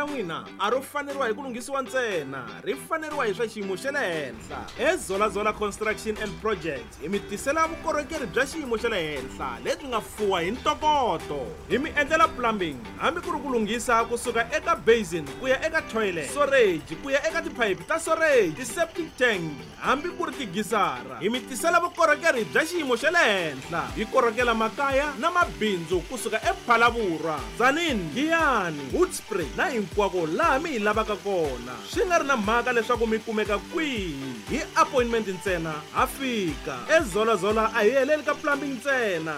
ra n'wina a ro faneriwa hi ku lunghisiwa ntsena, ri faneriwa hi swa xiyimo xa le henhla. EZolazola Construction and Projects hi mi tisela vukorhokeri bya xiyimo xa le henhla lebyi nga fuwa hi ntokoto. Hi mi endlela plumbing hambi ku ri ku lunghisa kusuka eka basin ku ya eka toilet, storage ku ya eka tiphayiphi ta storage, ti-septic tank hambi ku ri tigisara. Hi mi tisela vukorhokeri bya xiyimo xa le henhla. Hi korhokela makaya na mabindzu kusuka ePhalavurwa, Tzaneen, Giyani, Hoedspruit na hinkwako laha mi hi lavaka kona. Swi nga ri na mhaka leswaku mi kumeka kwihi, hi appointment ntsena ha fika. EZolazola a hi heleli ka plumbing ntsena.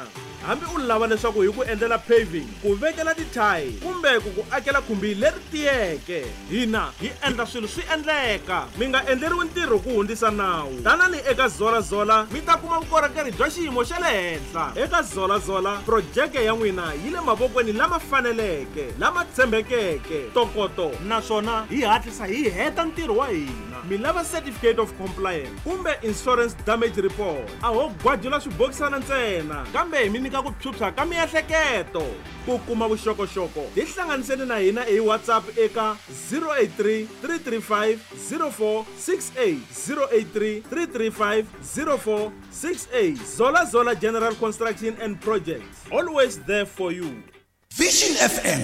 Hambi u lava leswaku hi ku endlela paving, ku vekela tithayili kumbe ku ku akela khumbi leri tiyeke, hina hi endla swilo swi endleka. Mi nga endleriwi ntirho ku hundzisa nawu. Tanani eka Zola Zola mi ta kuma vukorhokeri bya xiyimo xa le henhla. Eka Zola Zola, projeke ya n'wina yi le mavokweni lama faneleke, lama tshembekeke, ntokoto naswona hi hatlisa hi heta ntirho wa hina. Mi lava certificate of compliance kumbe insurance damage report, a ho gwajula swibokisana ntsena kambe hi mi nyika ku phyuphya ka miehleketo. Ku kuma vuxokoxoko tihlanganiseni na hina hi WhatsApp eka 083 335 0468, 083 335 0468. Zola Zola General Construction and Projects, always there for you. Vision FM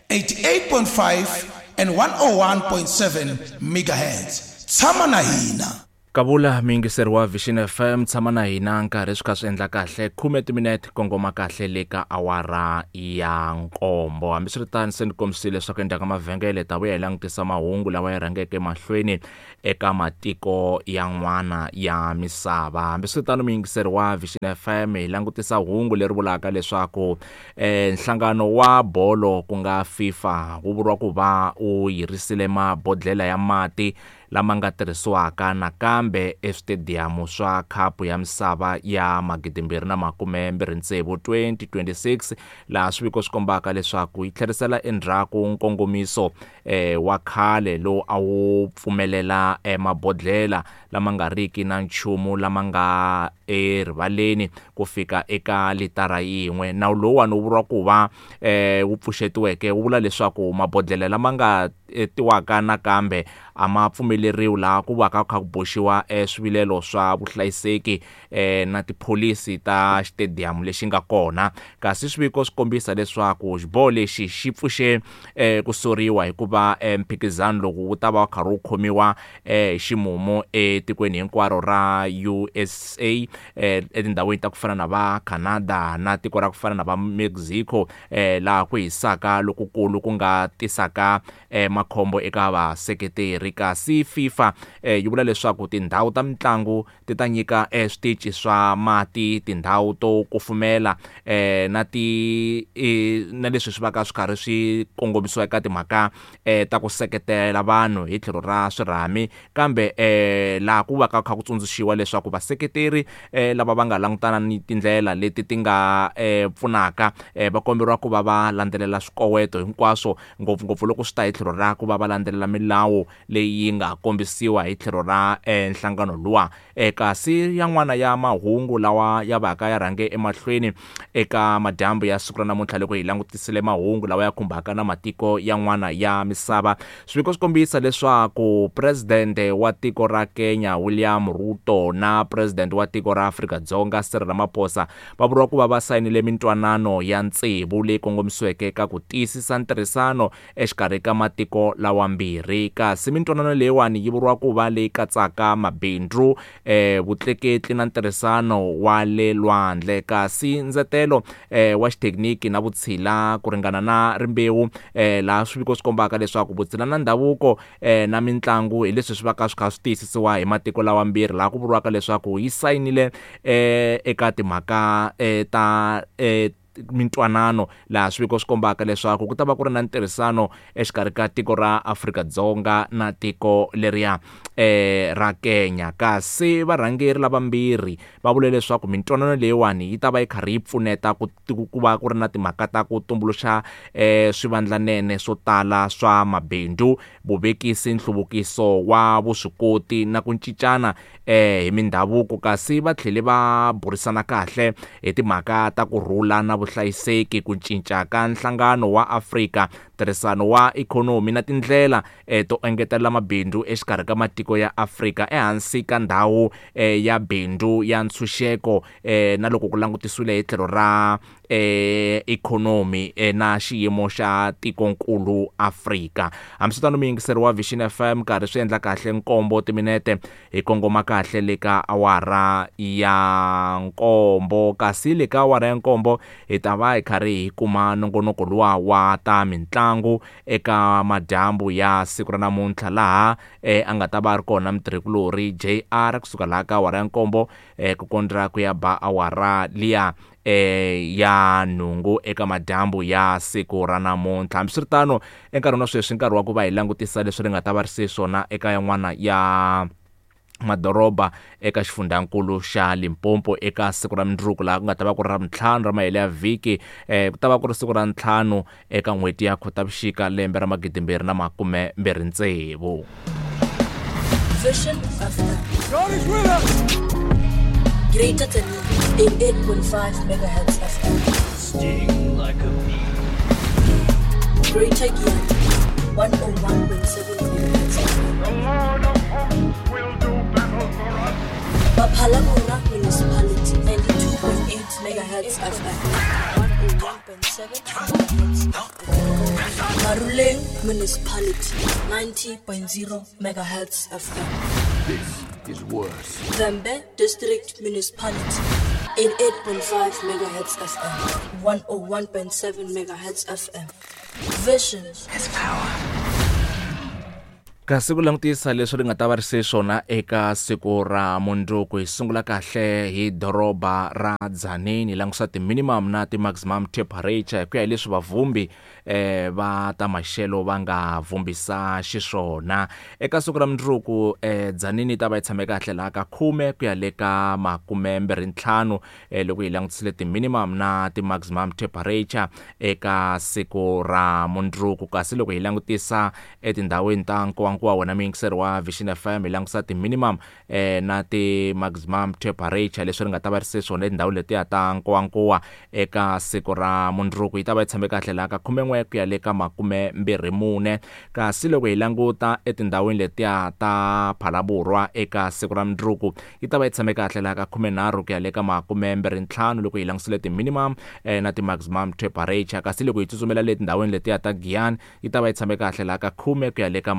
88.5 and 101.7 megahertz. Tshama na hina. Kavula muyingiseri wa Vision FM, tshama na hina nkarhi swi kha swi endla kahle khume timinete kongoma kahle le ka awara ya nkombo. Hambiswiritano se ni kombisile leswaku endzhaku ka mavhengele ta vuya hi langutisa mahungu lawa ya rhangeke mahlweni eka matiko yan'wana ya misava. Hambiswiritano muyingiseri wa Vision FM, hi langutisa hungu leri vulaka leswaku nhlangano wa bolo ku nga FIFA wu vuriwa ku va wu yirisile mabodlhela ya mati lama nga tirhisiwaka nakambe eswitediyamu swa Khapu ya Misava ya 2026, 2026, laha swiviko swi kombaka leswaku yi tlherisela endzhaku nkongomiso wa khale lowu a wu pfumelela mabodlhela lama nga riki na nchumu lama nga erivaleni ku fika eka litara yin'we. Nawu lowuwani wu vuriwa ku va wu pfuxetiweke wu vula leswaku mabodlhela lama nga tiwaka nakambe a ma pfumeleriwi laha ku va ka kha ku boxiwa swivilelo swa vuhlayiseki na tipholisi ta xitediyamu lexi nga kona. Kasi swiviko swi kombisa leswaku xiboho lexi xi pfuxe ku soriwa hikuva mphikizano lowu wu ta va wu karhi wu khomiwa hi ximumu etikweni hinkwaro ra USA, etindhawini ta ku fana na va Canada na tiko ra ku fana na va Mexico, laha ku hisaka lokukulu ku nga tisaka makhombo eka vaseketeri. Kasi FIFA yi vula leswaku tindhawu ta mitlangu ti ta nyika switichi swa mati, tindhawu to kufumela na ti na leswi swi vaka swi karhi swi kongomisiwa eka timhaka ta ku seketela vanhu hi tlhelo ra swirhami. Kambe laha ku va ka kha ku tsundzuxiwa leswaku vaseketeri lava va nga langutana ni tindlela leti ti nga pfunaka va komberiwa ku va va landzelela swikoweto hinkwaswo, ngopfungopfu loko swi ta hi tlhelo ra ku va va landzelela milawu leyi nga kombisiwa hi tlhelo ra nhlangano luwa. Kasi yan'wana ya mahungu lawa ya vaka ya rhange emahlweni eka madyambu ya siku ra namuntlha loko hi langutisile mahungu lawa ya khumbaka na matiko yan'wana ya misava, swiviko swi kombisa leswaku presidente wa tiko ra Kenya William Ruto na presidente wa tiko ra Afrika-Dzonga Cyril Ramaphosa va vuriwa ku va va sayinile mintwanano ya tsevu leyi kongomisiweke ka ku tiyisisa ntirhisano exikarhi ka matiko lawambirhi. Kasi mintwanano leyiwani yi vuriwa ku va leyi katsaka mabindzu, vutleketli na ntirhisano wa le lwandle. Kasi ndzetelo wa xithekiniki na vutshila ku ringana na rimbewu, laha swiviko swi kombaka leswaku vutshila na ndhavuko na mitlangu hi leswi swi vaka swi kha swi tiyisisiwa hi matiko lawambirhi, laha ku vuriwaka leswaku yi sayinile eka timhaka ta mintwanano, laha swiviko swi kombaka leswaku ku ta va ku ri na ntirhisano exikarhi ka tiko ra Afrika-Dzonga na tiko leriya ra Kenya. Kasi varhangeri lavambirhi va vule leswaku mintwanano leyiwani yi ta va yi karhi yi pfuneta ku ku va ku ri na timhaka ta ku tumbuluxa swivandlanene swo tala swa mabindzu, vuvekisi, nhluvukiso wa vuswikoti na ku cincana hi mindhavuko. Kasi va tlhele va burisana kahle hi timhaka ta ku rhula na vuhlayiseki, ku cinca ka nhlangano wa Afrika, ntirhisano wa ikhonomi na tindlela to engetela mabindzu exikarhi ka matiko ya Afrika ehansi ka ndhawu ya bindzu ya ntshunxeko na loko ku langutisiwile hi tlhelo ra ikhonomi na xiyimo xa tikonkulu Afrika. Hambiswiritano muyingiseri wa Vision FM karhi swi endla kahle nkombo timinete hi kongoma kahle le ka awara ya nkombo, kasi le ka awara ya nkombo hi ta va hi karhi hi kuma nongonoko luwa wa ta mitlangu eka madyambu ya siku ra namuntlha, laha a nga ta va a ri kona mutirhikulorhi JR kusuka laha ka awara ya nkombo ku kondza ku ya ba awara liya ya nhungu eka madyambu ya siku ra namuntlha. Hambiswiritano enkarhini wa sweswi nkarhi wa ku va hi langutisa leswi ri nga ta va ri se swona eka yan'wana ya madoroba eka xifundzankulu xa Limpopo eka siku ra mundzuku, laha ku nga ta va ku ri ra ntlhanu ra mahelo ya vhiki, ku ta va ku ri siku ra ntlhanu eka n'hweti ya Khotavuxika lembe ra 2026. Vision FM. God is with us. Greater than 88.5 megahertz FM. Sting like a bee. Greater Giyani, 101.7 megahertz FM. The Lord of hosts will do battle for us. Baphalabora Municipality, 92.8 megahertz FM. 101.7 megahertz FM. Maruleng Municipality, 90.0 megahertz FM. This is worse. Vhembe District Municipality, 88.5 megahertz FM, 101.7 megahertz FM. Vision has power. Kasi ku langutisa leswi ri nga ta va ri se swona eka siku ra mundzuku, hi sungula kahle hi doroba ra Tzaneen, hi langusa ti-minimum na ti-maximum temperature hi ku ya hi leswi vavhumbi va ta maxelo va nga vhumbisa xiswona. Eka siku ra mundzuku Tzaneen yi ta va yi tshame kahle laha ka 10 ku ya le ka 25 loko hi langutisile ti-minimum na ti-maximum temperature eka siku ra mundzuku. Kasi loko hi langutisa etindhawini ta Nkowankowa wena muyingiseri wa Vision FM, hi langusa ti-minimum na ti-maximum temperature leswi ri nga ta va ri se swona etindhawini letiya ta Nkowankowa eka siku ra mundzuku, yi ta va yi tshame kahle laha ka 11 ku ya le ka 24. Kasi loko hi languta etindhawini letiya ta Phalaborwa eka siku ra mundzuku, yi ta va yi tshame kahle laha ka 13 ku ya le ka 25 loko hi langusile ti-minimum na ti-maximum temperature. Kasi loko hi tsutsumela le tindhawini letiya ta Giyani, yi ta va yi tshame kahle laha ka 10 ku ya le ka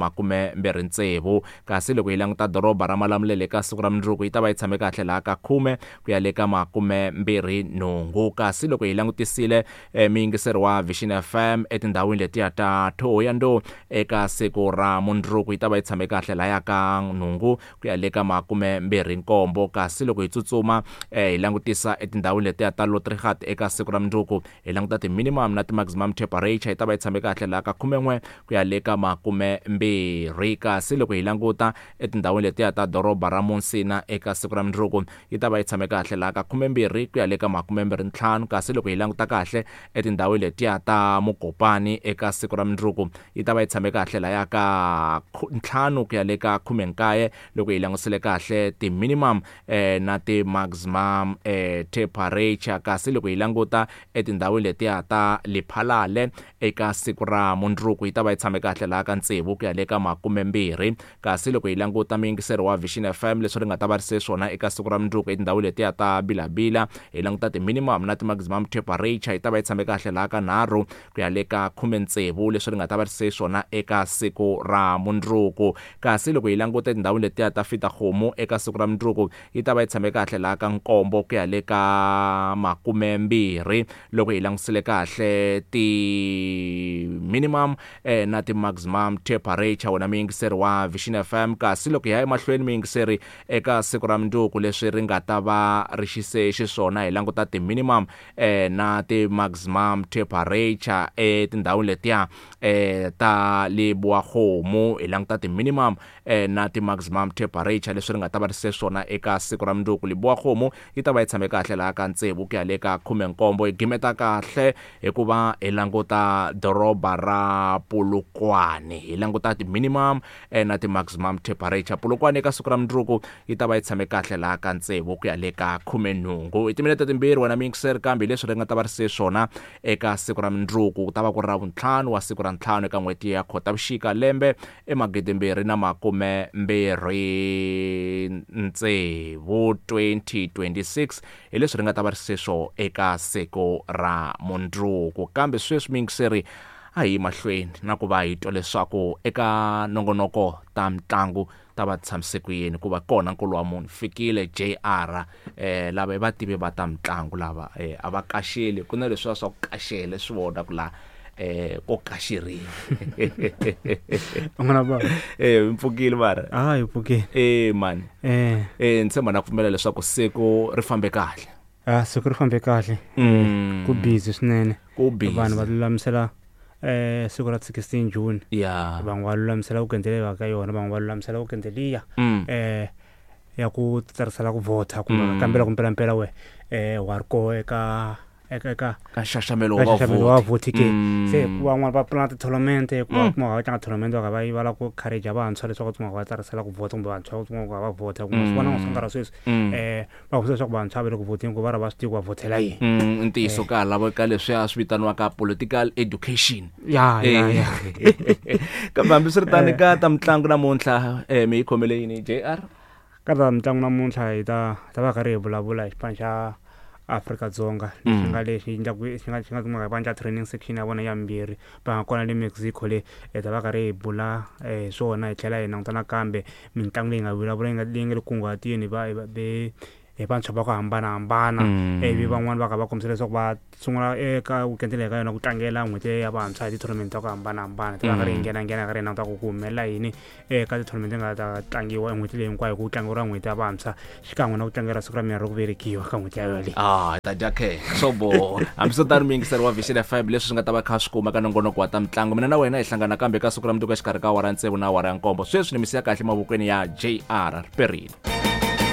26. Kasi loko hi languta doroba ra Malamulele eka siku ra mundzuku, yi ta va yi tshame kahle laha ka 10 ku ya le ka 28. Kasi loko hi langutisile muyingiseri wa Vision FM etindhawini letiya ta Thohoyandou eka siku ra mundzuku, yi ta va yi tshame kahle lahaya ka 8 ku ya le ka 27. Kasi loko hi tsutsuma hi langutisa etindhawini letiya ta Lotrigat eka siku ra mundzuku, hi languta ti-minimum na ti-maximum temperature, yi ta va yi tshame kahle laha ka 11 ku ya le ka 20. Kasi loko hi languta etindhawini letiya ta doroba ra Musina eka siku ra mundzuku, yi ta va yi tshame kahle laha ka 12 ku ya le ka 25. Kasi loko hi languta kahle etindhawini letiya ta Mokopani eka siku ra mundzuku, yi ta va yi tshame kahle lahaya ka 5 ku ya le ka 19 loko hi langusile kahle ti-minimum na ti-maximum temperature. Kasi loko hi languta etindhawini letiya ta Lephalale eka siku ra mundzuku, yi ta va yi tshame kahle laha ka 6 ku ya le ka 20. Kasi loko hi languta muyingiseri wa Vision FM leswi ri nga ta va ri se swona eka siku ra mundzuku etindhawini letiya ta Bilabila, hi languta ti-minimum na ti-maximum temperature, yi ta va yi tshame kahle laha ka 3 ku ya le ka 16 leswi ri nga ta va ri se swona eka siku ra mundzuku. Kasi loko hi languta etindhawini letiya ta Fitakgomo eka siku ra mundzuku, yi ta va yi tshame kahle laha ka 7 ku ya le ka 20 loko hi langusile kahle ti-minimum na ti-maximum temperature wena muyingiseri wa Vision FM. Kasi loko hi ya emahlweni muyingiseri eka siku ra mundzuku leswi ri nga ta va ri xise xiswona, hi languta ti-minimum na ti-maximum temperature etindhawini letiya ta Lebowakgomo, hi languta ti-minimum na ti-maximum temperature leswi ri nga ta va ri se swona eka siku ra mundzuku. Lebowakgomo yi ta va yi tshame kahle laha ka 6 ku ya le ka 17. Hi gimeta kahle hikuva hi languta doroba ra Polokwane, hi languta ti-minimum Ti-minimum na ti-maximum temperature. Polokwane eka siku ra mundzuku yi ta va yi tshame kahle laha ka 6 ku ya le ka 18 i timinete 2 wena mixer, kambe leswi ri nga ta va ri se swona eka siku ra mundzuku ku ta va ku ri ra vuntlhanu wa siku ra ntlhanu eka n'hweti ya Khotavuxika lembe e 2026 2026 hi leswi ri nga ta va ri se swo eka siku ra mundzuku. Kambe sweswi mixeri a hi mahlweni na ku va hi twa leswaku eka nongonoko ta mitlangu ta va tshamise ku yini, ku va kona nkulu wa munhu fikile JR lava i vativi va ta mitlangu lava a va kaxeli ku na leswiya swa ku kaxele swi vona ku la ko kaxeriwa. N'wana baba. Mpfukile mara. Hi pfukile. Mani. Ni tshemba na pfumela leswaku siku ri fambe kahle. Siku ri fambe kahle. Ku busy swinene. Ku busy. Vanhu va lulamisela siku ra 16 June. Van'we va lulamisela ku kendlela ka yona, van'we va lulamisela ku kendeliya. Ya ku tsarisela ku vhota kumbe kambela ku mpelampela we wa ri koho eka eka ka nxaxamelo wa wa vhoti ke. Se van'wana va pulana ti-tournament ku va kuma va tlanga tournament va va va lava ku encourage vantshwa leswaku va va tsarisela ku vhota kumbe vantshwa ku va vhota kumbe swi vona swa nkarhi wa sweswi va vutisa leswaku vantshwa va le ku vhoteni ku va ri va swi tivi ku va vhotela yini. Ntiyiso ka lava ka leswiya swi vitaniwaka political education. Ya ya ya. Kambe hambiswiritano ka ta mitlangu namuntlha mi yi khomele yini JR? Ka ta mitlangu namuntlha hi ta va karhi hi vulavula hi xipano xa Afrika-Dzonga lexi nga lexi endlaku xi nga xi nga kumeka va endla training section ya vona ya mbirhi va nga kona le Mexico le hi ta va karhi hi bula hi swona hi tlhela hi languta nakambe mitlangu leyi nga vulavula yi nga leyi nga le kunguhatini va hi vantshwa va ku hambanahambana ivi van'wani va kha va kombisa leswaku va sungula eka weekend leyi ka yona ku tlangela n'hweti ya vantshwa hi ti-tournament ta ku hambanahambana ta va karhi hi nghena nghena karhi hi languta ku ku humelela yini eka ti-tournament nga ta tlangiwa en'hweti leyi hinkwayo ku tlangeriwa n'hweti ya vantshwa xikan'we na ku tlangela siku ra mina ro ku velekiwa ka n'hweti ya yoleyo. Hi ta dya khe swo boha. Hambiswiritano muyingiseri wa Vision FM leswi swi nga ta va kha swi kuma ka nongonoko wa ta mitlangu, mina na wena hi hlangana kambe ka siku ra mundzuku exikarhi ka awara ya 6 na awara ya 7. Sweswi ni misiya kahle mavokweni ya JR Riperile.